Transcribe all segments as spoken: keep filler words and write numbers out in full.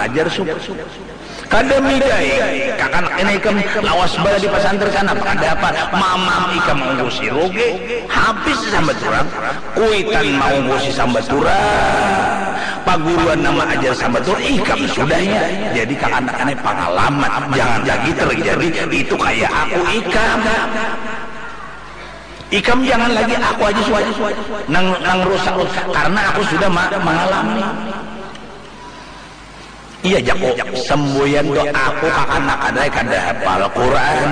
ajar suku. Kada midai, kakanak ini ikam lawas bala di pasantren sana, kada apa, mamam ikam unggusi roge, habis sambat urang, kuitan maunggusi sambat urang, paguruan nama ajar sambat urang, ikam sudahnya. Jadi kakanak ini pangalaman, jangan lagi terjadi itu kaya aku ikam. Ikam jangan lagi aku aja suai nang nang rusak karena aku sudah ma- mengalami. Iya jaku semboyan tu aku kakanak ada kada hafal Quran.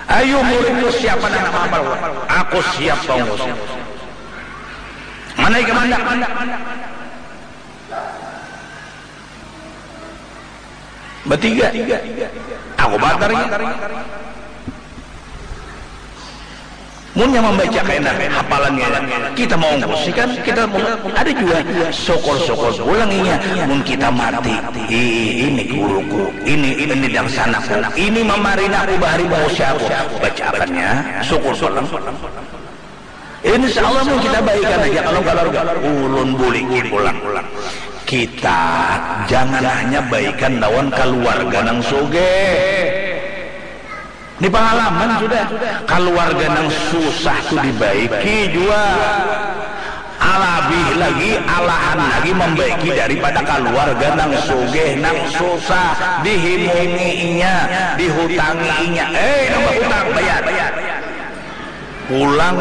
Ayo murid tu siapa nang hafal Quran? Aku siap tongos. Mana ikam anda? Batiga. Aku batarnya. Munnya mambaca kena hapalannya, kita mau ngusik kan, kita mau ada jua syukur-syukur pulang inya. Mun kita mati, "Ih, ini guruku, ini ini dangsanaku, ini mamarina aku bahari mausia aku." Baca akannya, syukur pulang. Insya Allah mun kita baikan aja kalau keluarga ulun buliki pulang. Kita jangan hanya baikan lawan keluarga nang sugih. Ini pengalaman sudah. Keluarga nang susah tu dibaiki jua. Alabih lagi, alahan lagi membaiki daripada keluarga nang sugih, nang susah, dihimungi inya, dihutangi inya. Eh, nang berhutang bayar. Pulang.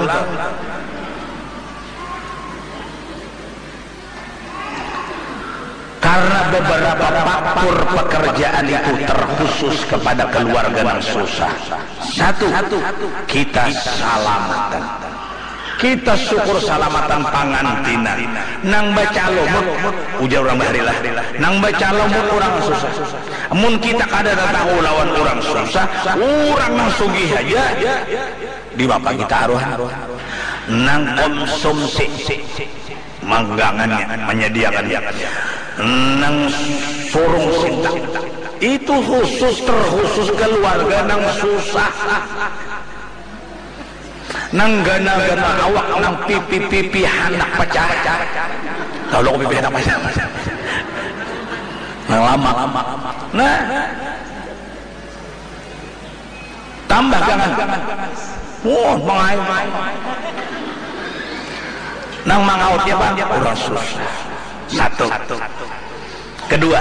Karena beberapa faktor pekerjaan itu terkhusus kepada keluarga yang susah. Satu, kita salamatan. Kita syukur salamatan pangantinan. Nang bacalumut, ujar orang bahari lah. Nang bacalumut orang susah. Mun kita kada tahu lawan orang susah, orang nang sugih aja di bapa kita aruhan. Nang konsumsi manggangannya, menyediakannya. Nang surung sinta itu khusus terkhusus keluarga nang susah. Nang gana-gana awak nang pipi-pipi handak pacah. Kalau pipi handak pacah. Nang lama. Nah, tambah jangan. Wah, mangayu. Nang mangautnya apa? Orang susah. Satu. Kedua,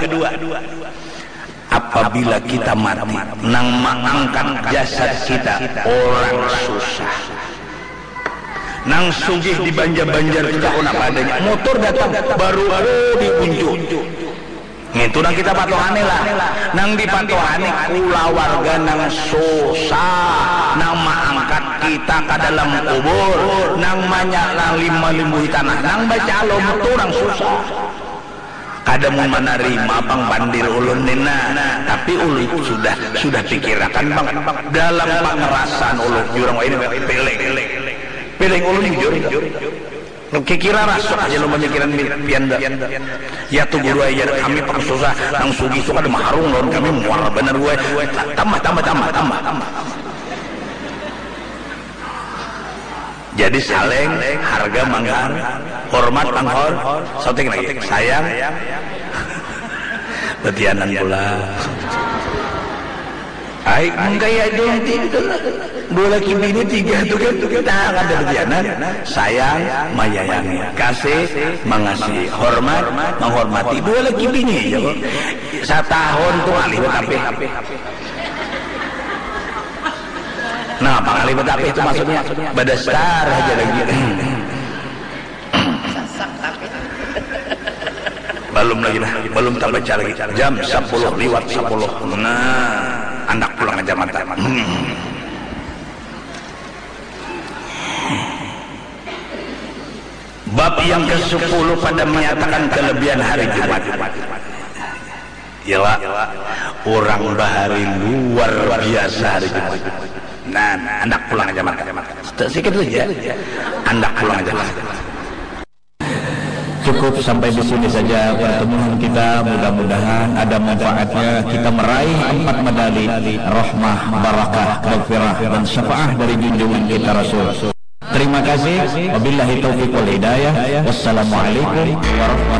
apabila kita mati, nang mengangkat jasad kita orang susah. Nang sugih di banjar-banjar kita kena padanya. Motor datang, baru oh, diunjuk. Ngintu nang kita patuhani lah. Nang dipatuhani kulawarga nang susah, nang maangkat kita ka dalam kubur, nang manya nang lima limbuhi tanah, nang bacalum tu urang susah. Kada mun manarima pang pandir ulun ni nah, tapi ulun sudah sudah pikirakan pang dalam pangrasaan ulun jurang wahini piling, piling ulun jujur. Kikira rasuk aja lo pamikiran pian da. Ya tu guru ajar kami pang susah, nang sugih tu kada maharung lawan kami, muar banar gua. Tambah tambah tambah tambah. Jadi saling harga manggar, hormat manghor, soting lagi sayang. Betianan pula. Ai mengkaya itu nanti dua laki bini tiga tu kan, nah kada betianan, sayang menyayangi, kasih mengasihi, hormat menghormati, dua laki bini aja kok. Satahun tu ngalih betapih. Nah, apa ngalih betapih tu maksudnya? Badasar aja lagi. Balum lagi lah, balum tabaca lagi. Jam sapuluh liwat sapuluh. Nah, andak pulang aja mata. Hmm. Bab yang kesepuluh pada menyatakan kelebihan hari Jumat. Iyalah, urang bahari luar biasa hari Jumat. Nah, andak pulang aja mata. Sikit saja. Andak pulang aja mata. Cukup sampai di sini saja pertemuan kita. Mudah-mudahan ada manfaatnya. Kita meraih empat medali rahmah, barakah, maghfirah, dan syafaah dari junjungan kita Rasul. Terima kasih. Wabillahi taufiq wal hidayah. Wassalamualaikum warahmatullahi